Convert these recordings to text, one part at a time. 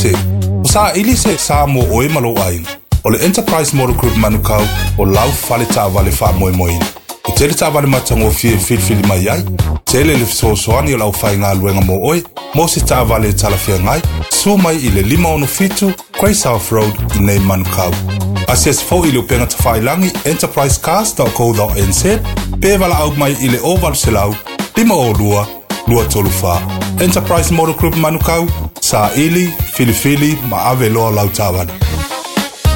Te. O saili se sa mo oe ma lou aiga. O le Enterprise Motor Group Manukau o lau fale taavale faamoemoeina. E tele taavale matagofie e filifili mai ai. Tele le fesoasoani o le aufaigaluega mo oe, mo se taavale e talafeagai, susu mai i le 567 Grey South Road i nei Manukau. Asiasi foi i le upega tafailagi enterprisecars.co.nz pe valaau mai i le 0800 502 234. Enterprise Motor Group Manukau, saili, filifili ma ave loa lau taavale.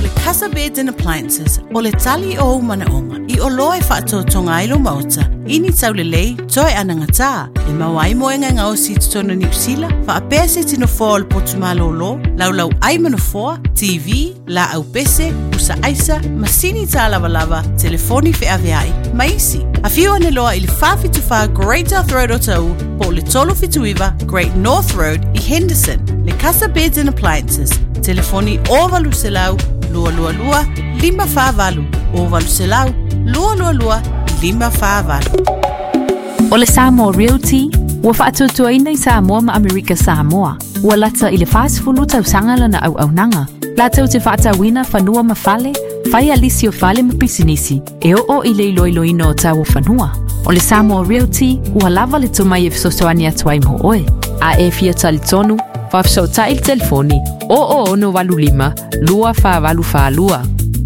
Le Casa Beds and Appliances, o le tali o ou manaoga, i oloa e faatotoga ai lou maota, i ni taulelei, toe anagatā, e maua ai moega e gaosi i totonu o Niu Sila, faapea se tino foa o le potu malōlō, laulau ai ma nofoa, TV, laau pese, pusa aisa, masini tālavalava, telefoni feaveai, ma isi. Afio ane loa i le 474 Great South Road o Taú, po o le 379 Great North Road i Henderson. Le Casa Beds and Appliances, telefoni 0800 222 548, 0800 222 548. O le Samoa Realty, ua faatuatuaina i Samoa ma Amerika Samoa. Ua lata i le 40 tausaga lana auaunaga. Latou te faatauina fanua ma fale, fai a lisi o fale ma pisinisi, e oo i le iloiloina o tau o fanua. O le Samoa Realty, ua lava le tomai e fesoasoani atu ai mo oe. A e fia talitonu, faafesootai i le telefoni 0085 2482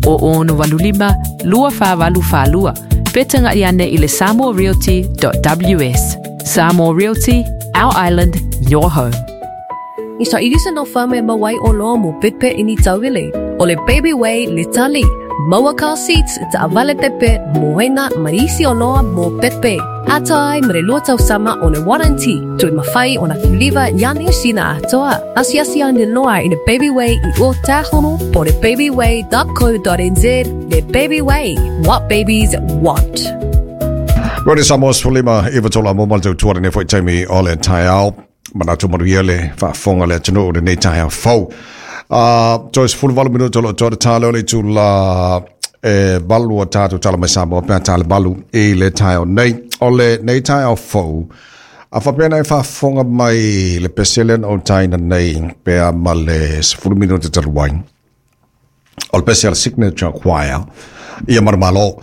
0085 2482 pe tagai ane i le samoarealty.ws. Samoa Realty, our island, your home. I saili se nofa me maua ai oloa mo pepe i ni tauele. O le Baby Way le tali. Maua car seats, taavale pepe, moena ma isi oloa mo pepe. Ata ai ma le lua tausama o le warranty. Toe mafai ona kiliva ia Niu Sila atoa. Asiasi ane loa i le Baby Way i Ōtāhono po o le babyway.co.nz le Baby Way, what babies want. Rodi Samoa 15 iwa tola mo mal tau tuara nei foi taimi o le taeao. Manatu manuia le faafofoga le atunuu lenei taeao fou. Toe 18 minuta o lo o toa le tā leo le itula e valu o tātou tala mai Samoa pe a tā le valu i le taeao nei. O le nei taeao fou, a faapea na e faafofoga mai le pese lea na ou taina nei pe a ma le 10 minuta talu ai. O le pese a le Signature Choir ia Manumalo.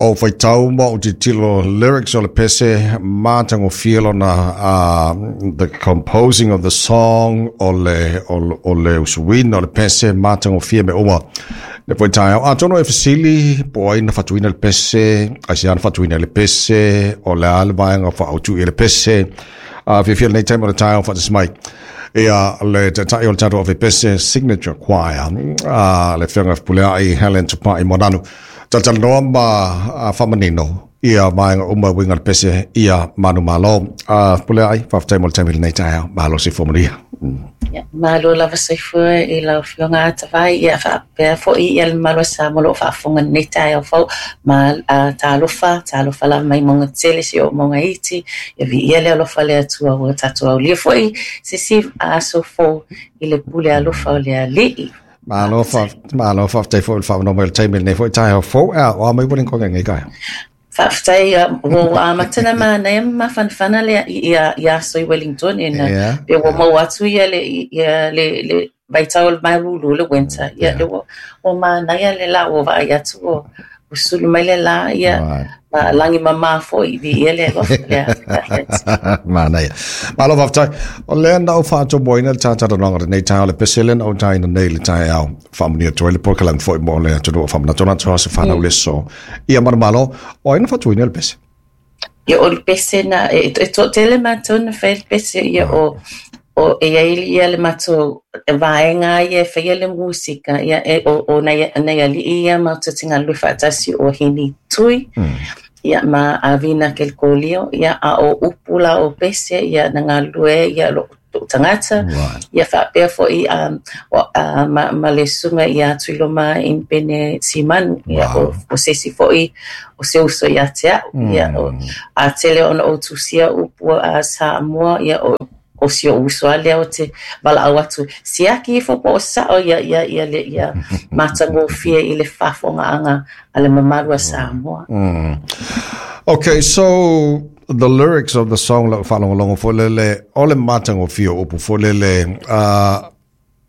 O faitau ma o tilotilo lyrics o le pese matagofie lona the composing of the song o le o le usuina o le pese matagofie me uma le foi taeao. Atonu e fesili po o ai na fatuina le pese, aisea na fatuina le pese, o le a le vaega faaautu i le pese. Fiafia lenei taimi o le taeao faatasi mai ia le taitai o le tatou ave pese Signature Choir, le Afioga Fepuleai Helen Tupai Moananu. Talatalanoa ma faamanino ia vaega uma e uiga i le pese ia manumalo. Fepuleai, faafetai mo le taimi i lenei taeao. Malo soifua manuia. Ia, malo lava soifua i lau Afioga Atavai, ia faapea foi ia le mamalu o Samoa o lo o faafofoga i lenei taeao fou, ma talofa, talofa lava mai mauga tele seia oo mauga iti, ia viia le alofa o le Atua ua tatou aulia foi se isi aso fou i le pule alofa o le Alii. Malo, fa, malo faafetai foi i le faaavanoa mai o le taimi i lenei foi taeao fou. Ea, o a mai ua lenei nei taeao? Faafetai, ua ua amata ona manaia ma mafanafana le ia ia aso i Wellington ina Yeah. pe ua maua atu ia le ia le le vaitau o le malulu le winter ia Yeah. le ua ua manaia le la ua vaai atu ua ua sulu mai le la ia Right. ma lagi mamā foi viia le alofa lea. Manaia. Malo faafetai. O lea na ou faatomuaina le tātalanoaga lenei taeao, le pese lea na ou taina nei i le taeao. Faamanuia atu ai le polokalame foi mo le atunuu o faamanatu atu se whanau le so. Ia manumalo, o ai na fatuina le pese? Ia o le pese na, e, e toatele mātou na whai le pese, ia o, o e ai ia le mātou vaega ia e whaia le musika, ia e, o, o nei, nei ali'i ia mātou te ngalue whaatasi o Hini Tui, ia ma Avina Kelkolio, ia a o upu la o pese, ia na ngalue, ia lo to'u tagata, Right. ia faapea fo'i o ma ma le susuga ia Tuiloma Inipene Simanu, ia Wow. o o se isi fo'i o se uso ia te a'u, ia o a tele ona ou tusia upu a Samoa, ia o o si o'u uso a lea ou te valaau atu, siaki ifo po o sa'o ia ia ia le ia matagofie i le faafofogaaga a le mamalu a Samoa. Okay, so the lyrics of the song lau faalogologo foi lele, o le matagofie o upu foi lele,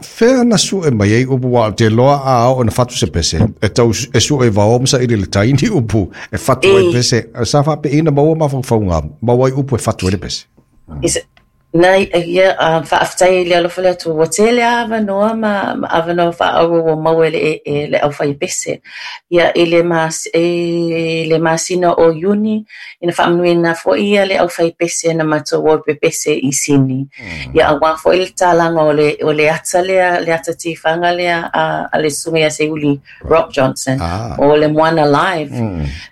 fea na sue mai ai upu aua ou te iloa a oo ina fatu se pese, e tau e sue i vao ma saili i le tai ni upu e fatu ai pese. Sa faapei na maua mafaufauga, maua ai upu e fatu ai le pese. Na ia faafetai i le alofa o le Atua ua tele lava avanoa ma avanoa faaauro ua maua e le e le aufaipese. Ia i le mas, i le masina o Iuni, ina faamanuiaina foi ia le aufaipese na matou o e pepese i Sini. Ia aua foi le tatalaga o le o le ata lea, le ata tifaga lea a a le Susuga ia Seiuli Rock Johnson o le Moana Live.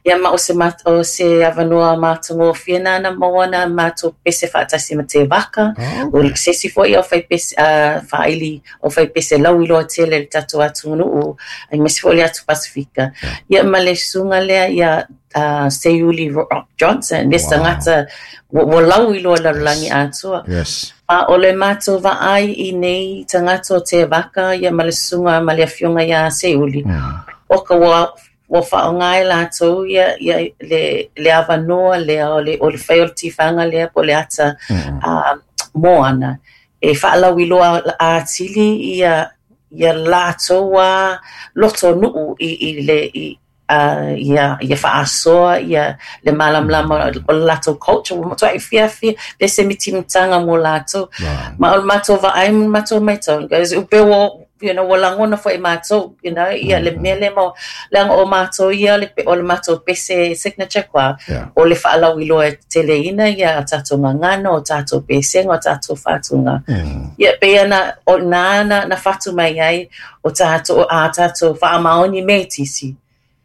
Ia ma o se o se avanoa matagofie na na maua na matou pepese faatasi ma Tevaka. O se isi foi aufaipese faaili aufaipese lauiloa tele i le tatou atunuu aemaise foi le atu Pasefika. Ia ma le susuga lea ia Seiuli Rock Johnson, le tagata ua lauiloa i le lalolagi atoa. Yes. A o le matou vaai i nei tagata o Tevaka ia ma le susuga ma le afioga ia Seiuli, o ka ua ua faaaoga e latou ia ia le le avanoa lea o le o le fai o le tifaga lea po o le ata moana e faalauiloa atili ia ia latou lava lotonuu i i le i ia ia faasoa ia le malamalama o le latou culture ua matuai fiafia le se mitimitaga mo latou. Ma o le matou vaai ma le matou matau pe ua you know ua lagona foi e matou you know ia le mea lea ma leaga o matou ia le o le matou pese signature koa o le faalauiloa e teteleina ia tatou gagana o tatou pesega o tatou fatuga. Ia pei ona o na na fatu mai ai o tātou, ā tātou faamaoni metisi,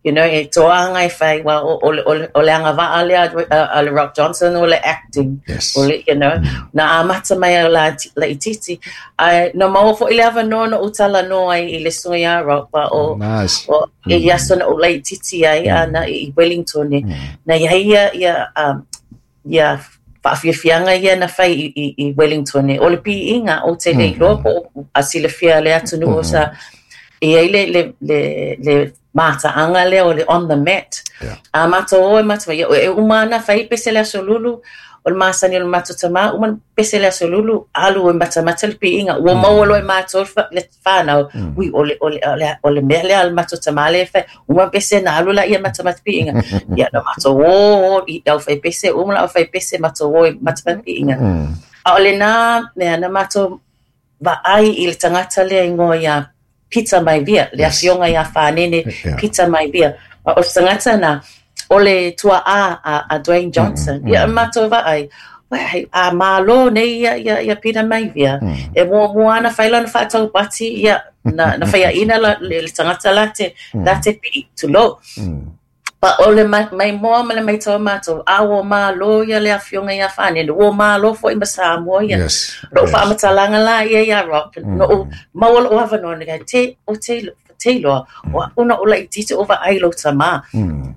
you know, e toaga e whai, well, o, o, o, o le agavaa lea a le Rock Johnson o le acting, yes. o le, you know, na amata mai au la, laitiiti, ae na maua foi le avanoa na ou talanoa ai i le susuga ia Rock, wa o, nice. o i aso na ou laitiiti ai, ana i Wellington, na iai ia, ia, ia faafiafiaga ia na fai i, i, i Wellington. O le piiga, ou te le iloa po o a silafia le atunuu sa e iai le, le, le, le mataaga lea o le on the mat. Yeah. A matou o e matou ia, e uma ana fai pese le aso lulu, o le masani o le matou tamā, uma pese le aso lulu, alu e matamata le piiga. Ua maua loa e matou le whanau, ui, o le, o le, o le, o le mea lea a le matou tamā lea e fai, uma pese na alu laia matamata piiga. Ia, na matou o, o i au fai pese, uma la au fai pese, matou o i matamata piiga. A o lenā mea, na matou vaai i le tagata lea igoa ia Peter Maivia, le afioga ia Fanene Peter Maivia. A o le tagata na, o le tua'a a, a Dwayne Johnson. Ia, matou vaai, hei, a malo nei ia, ia, ia Peter Maivia. E muamua ana fai lana faataupati, ia, na, na faiaina la, le, le tagata la te, la te pi'i, tulou. Pa o le mai, maimoa ma le maitau a matou, a ua malo ia le afioga ia Fanene, ua malo foi ma Samoa ia. Yes, Lo'u yes. faamatalaga la ia ia Rock, no'u maua lo'u avanoa, na te, o te, te iloa, o a'u na ou laitiiti o vaai i lou tamā.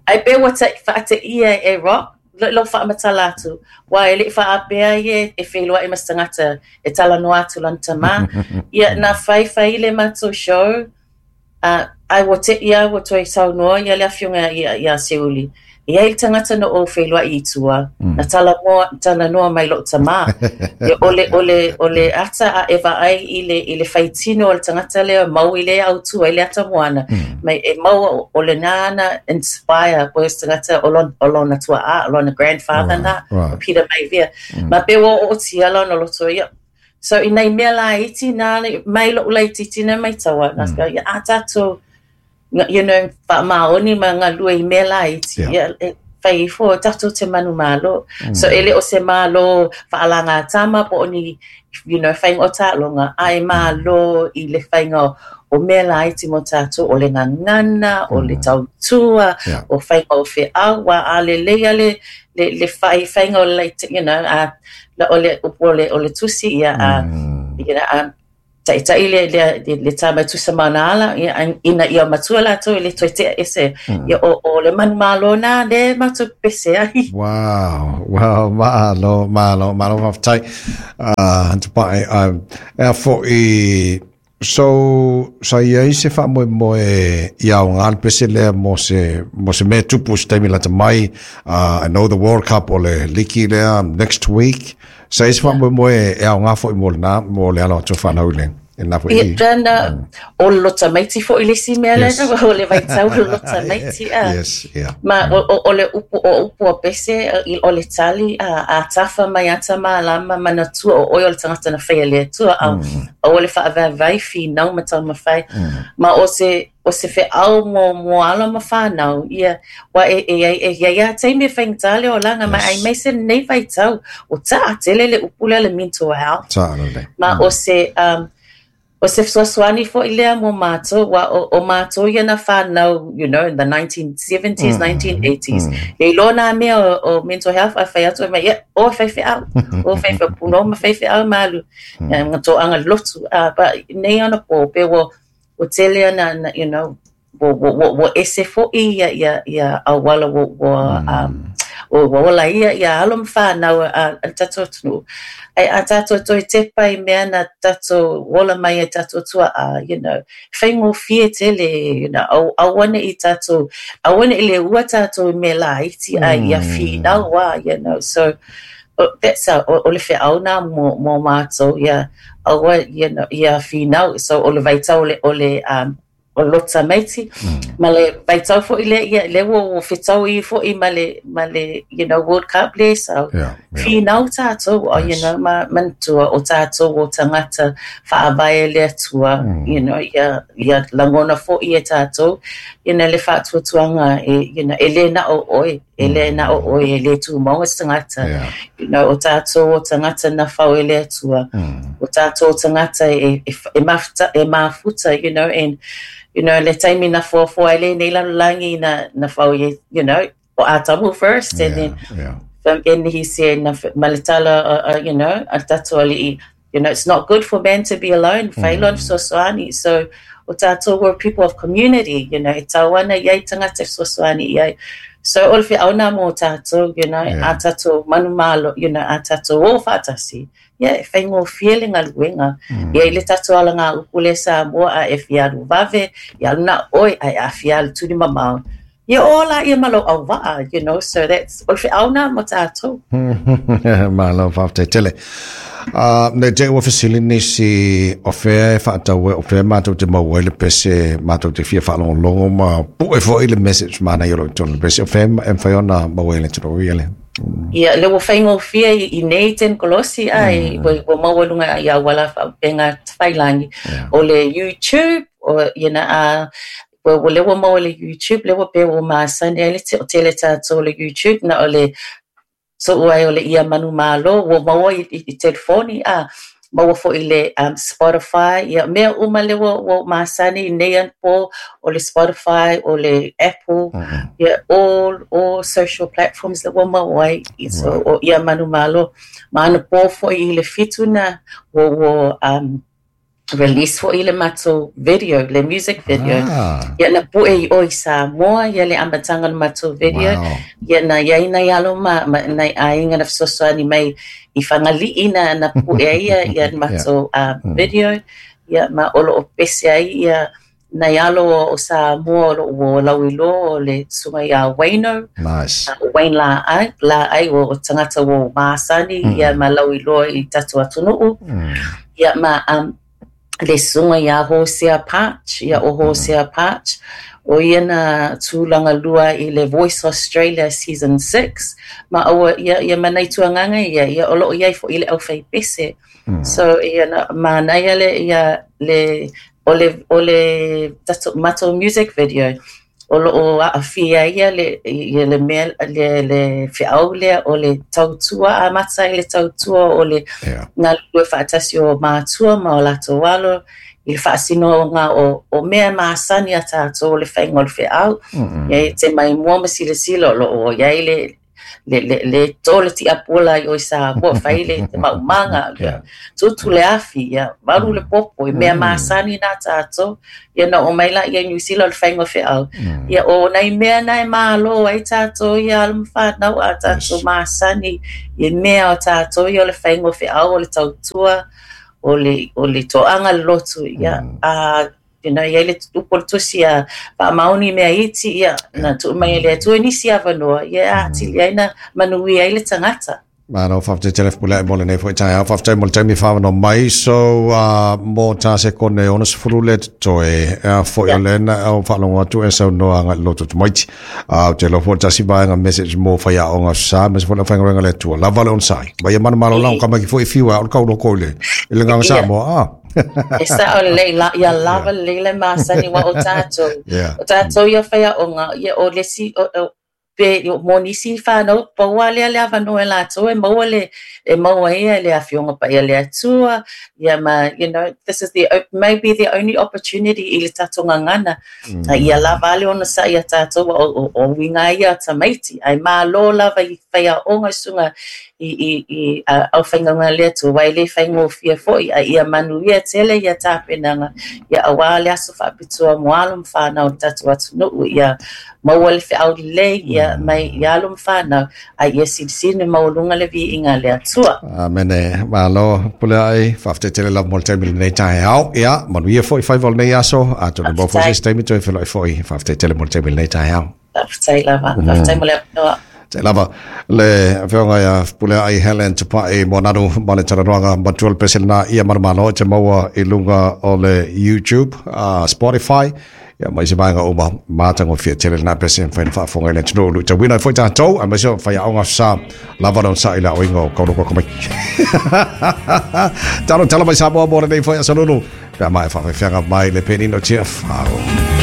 Ae pe ua faateia e Rock lou faamatala atu, aua e le i faaapea ia e feiloai ma se tagata e talanoa atu lana tamā. Ia, na faifai le matou show, ae ua te'i lava ua toe saunoa ia le afioga ia Seiuli, E iai le tagata na ou feiloai i tua, na talanoa, talanoa mai lo'u tamā. Ia, o le, o le, o le ata a e vaai i le, i le faitino o le tagata lea mau i le autu ai le ata moana, mai e maua o lenā na inspire po o se tagata o lona, o lona tua'a, o lona grandfather Right, na, right. o Peter Maivia. Ma pe ua ootia lona loto ia. So i nai mea laiti na mai lo'u laitiiti na maitaua, na ia a tatou you know, faamaoni ma galue i mea laiti, Yeah. ia, e fai ifo tatou te manumalo. So e le o se malo faalagatama po o ni, you know, faiga o taaloga, ae malo i le faiga o, o mea laiti mo tatou, o le gagana, o le tautua, Yeah. o faiga o feau, ua a lelei lava le, le, le fai, faiga o le laiti, you know, a, la, o le upu o le, o le tusi, ia, a, you know, a, Taʻitaʻi le, le, le, le tā mai tusa ma ona ala, ia, ina ia matua latou e le toe tea ese. Ia, o, o le manumalo nā le matou pepese ai. Wow, wow, malo, malo, malo faafetai. Tupai, ea fo'i, So, sa i ai se faamoemoe i aoga le pese lea mo se, mo se mea tupu se taimi lata mai. I know the World Cup o le liki lea next week. Sa i ai se faamoemoe e aoga foi mo lena, mo le alo atu o fanau i le, i lena foi Ia, tana, o le lota maiti foi le isi mea lea, o le vaitau o le lota maiti. Yes, yeah. Ma o le upu, o upu a pese, o le tali, a tafa mai ata malama, manatua o oe o le tagata na faia e le Atua, a aua le faavaevae, finau ma taumafai. Ma o se, o se feau mo, mo alo ma fanau, ia, ua e, e, e, e iai lava taimi e faigata le olaga, ma aemaise lenei vaitau, ua taatele le upu lea le mental health. Ta'a Ma o se, o se fesoasoani foi lea mo mātou, ua o, o mātou ia na whānau, you know, in the 1970s, 1980s. E iloa nā mea o, o mental health, a whai atu e mai, yeah, o faifeau, o faifeau, puno ma faifeau ma alu, nga toaga le lotu. But nei ana pō, pe ua, ua tele ana, na, you know, ua, ua, ua, ua ese fo'i ia, ia, ia auala ua, ua, ua, ua ola ia, ia alo ma whānau a, a le tātou atunuu. Ai a tātou toe tepa i mea na tātou ola mai ai tātou tua'a, you know, whaingofie tele, you know, au, aua ne'i tātou, aua ne'i le ua tātou i mea laiti a ia whinau a, you know, so, that's our, o, o le feau nā mo, mo mātou, ia, aua, you know, ia whinau, so o le vaitau o le, o le, o lota maiti, ma le vaitau foi lea, ia, lea ua, ua fetaui foi ma le, ma le, you know, World Cup lea, so, whinau tātou, oh, you know, ma, manatua o tātou o tagata faavae le Atua, you know, ia, ia lagona foi e tātou, you know, le faatuatuaga e, you know, e le na o oe, e le na o oe, e le tumau e se tagata, you know, o tātou o tagata na fau e le Atua, o tātou o tagata e, e, e, mafuta, e mafuta, you know, and, you know, le taimi na foafoa ai lenei lalolagi na, na fau i, you know, o Atamu first, and then, and he said, na, ma le tala, you know, a tātou ali'i, you know, it's not good for man to be alone, whai loa fesoasoani. So, o tātou we're people of community, you know, e tau ana i ai tagata e fesoasoani i ai. So, o le feau nā mō tātou, you know, a tātou manumalo, you know, a tātou o whaatasi. Yeah, e whaingofie le galuega. Ia i le tātou ala ngā upu le Samoa a e fia alu vave, i alu na oi, a e a fia alu tuli mamao. Ia o la ia ma lou auvaa, you know, so that's, o le feau nā mo tātou. Malo, whāfetai tele. Nei te ua fesili nisi o whea e whaatau e, o whea mātou te mau ai le pese, mātou te fia whaalongolongo ma pu'e foi le message mana i o lo i tonu le pese, o whea e mwhai ona mau ai le tino ia le. Ia, le ua whaingofie i nei tenikolosi ai, ua maua lunga i auala whapenga whailangi. O le YouTube, o, you know, ua, ua le ua maua le YouTube, le ua pe ua masani ai le te, o tele tātou le YouTube, na o le so'u ai o le ia manumalo, ua maua i, i, i telefoni, a maua foi le Spotify, ia mea uma le ua, ua masani i nei anapo, o le Spotify, o le Apple, ia all social platforms le ua maua ai, i, so, o ia manumalo. Ma anapo foi i le 7 na, ua, ua release foi le matou video, le music video. Ia na pu'e i o i Samoa, ia le amataga o le matou video. Ia na iai nai alo ma, ma nai aiga na fesoasoani mai i Fagalii na, na pu'e ai ia, ia le matou video. Ia ma o loo pese ai ia nai alo o Samoa o loo ua lauiloa o le susuga iā Wayno. Nice. Wayne Laai, Laai o tagata ua masani ia ma lauiloa i tatou atunuu. Ia ma le susuga iā Hosea Parch, ia o Hosea Parch, o ia na tulaga lua i le Voice Australia Season 6, ma aua ia, ia ma nai tuagaga ia, ia o loo iai foi le auwhai pese. So ia na manaia le ia le o le o le tatou matou music video o loo aafia ia le ia le mea le le feau lea o le tautua amata i le tautua o le galulue faatasi o matua ma o latou alo i le faasinoga o, o mea masani a tātou o le faiga o le feau. Ia e te mai mua ma silasila o loo iai le le, le, le to le tiapula i o i Samoa, fai le te maumaga, ia, tutu le afi, ia, valu le popo, i mea masani nā tātou, ia na o mai la ia New Zealand o le faiga o feau. Ia o nai mea na e malo ai tātou ia alo ma whānau a tātou masani, i mea o tātou ia o le faiga o feau o le tautua, o le o le toaga le lotu ia a you know, ia le upu o le tusi a faamaoni mea iti ia na tuu mai e le Atua nisi avanoa ia atili ai na manuia ai le tagata. Malo, faafetai tele Fepuleai mo lenei foi taeao. Faafetai mo le taimi faavanoa mai. So, mo tā sekone 60 le totoe, ea foi o le na au faalogo atu e saunoa agai i le loto tamaiti. Ou te iloa foi le tasi vaega message mo faiaoga sa, aemaise foi le aufaigaluega a le Atua. Lava le onosai. Ma ia manumalo lago tamaiti foi e fiu ai, a o le tauloko i le, i le agaga Samoa. E sao lelei, la, ia lava lelei le masani aua o tatou. O tatou ia faiaoga, ia o le isi, o, o, pe mo nisi whānau, pau lava lea le avanoa e latou e maua le, e maua ai le Afioga Paia a le Atua, ia ma, you know, this is the, maybe the only opportunity i le tatou gagana, ia lava a le onosai ia tatou, o, o, o uiga ia o tamaiti, ae malo lava i faiaoga susuga i, i, i aufaigaluega a le Atua, aua e le faigofie foi, a ia manuia tele ia tapenaga, ia aua le aso faapitoa mo alo ma fanau o le tatou atunuu, ia maua le feau lelei ia mai i alo ma fanau, a ia silisili maualuga le viiga a le Atua. Amene. Malo, Puleai, faafetai tele lava mo le taimi i lenei taeao. Ia, manuia foi faiva o lenei aso, atonu maua foi se isi taimi toe feiloai foi. Faafetai tele mo le taimi i lenei taeao. Faafetai lava. Faafetai mo le avanoa. Faafetai lava le afioga ia Puleai Helen Tupai Moananu ma le talanoaga matua le pese lena ia manumalo e te maua i luga o le YouTube, Spotify, ia ma isi vaega uma matagofie tele lena pese e mafai ona faafofoga i le atunuu luitauina ai foi tatou aemaise o faiaoga sa lava le onosai i le aoina o kauloko tamaiti. Talo tala mai Samoa mo lenei foi aso lulu pe a maea faafefeaga mai le penina o Tiafau.